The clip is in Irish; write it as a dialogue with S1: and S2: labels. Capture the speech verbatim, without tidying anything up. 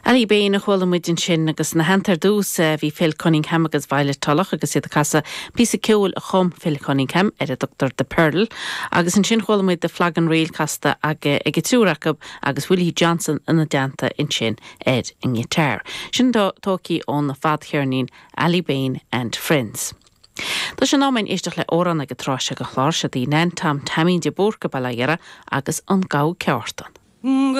S1: Aly Bain a chuala muid ansin agus ina theannta ar dtús bhí Phil Cunningham agus Violet Tulloch agus iad ag casadh píosa ceoil a chum Phil Cunningham ar a dtugtar The Pearl, agus ansin chuala muid The Flagon Reel casta ag ag an triúr acu agus Willie Johnson ina dteannta ansin ar an ngiotár. Sin tógtha ón bhfadcheirnín Aly Bain and Friends. Tá sé in am éisteacht le amhrán ag an tráth seo den chlár seo í Nan Tom Taimín de Búrca Baile agus an Gabha Ceártan.